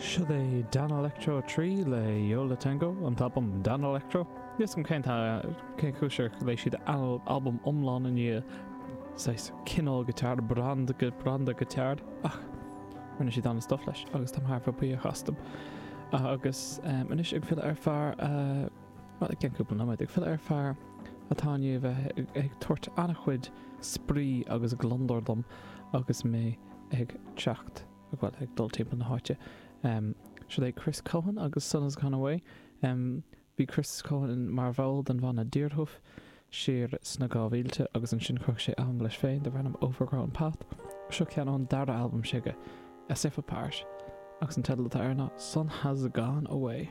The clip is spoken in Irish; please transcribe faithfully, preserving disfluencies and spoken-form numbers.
Seo é Danelectro trí le Yo La Tengo an t-albam Danelectro. Níl a fhios agam cén cén chúis ar léigh siad albam iomlán i ndiaidh saghas cineál guitar branda branda guitar ach rinne siad an-stuff leis agus táim thar a bheith buíoch astu. Agus anois ag filleadh ar fear well ag cúpla nóiméad ag filleadh ar fear atá i ndiaidh bheith ag tabhairt an-chuid spraoi agus gliondar dom agus mé ag teacht well ag dul timpeall na háite. Um, Seo é Chris Cohen agus Sun Has Gone Away. Um, bhí Chris Cohen mar bhall den bhanna Deerhoof siar sna dhá mhílte agus ansin chruthaigh sé albam leis féin darb ainm Overgrown Path. Seo ceann ón dara albam s'aige, A Step Apart, agus an teideal atá air ná Sun Has Gone Away.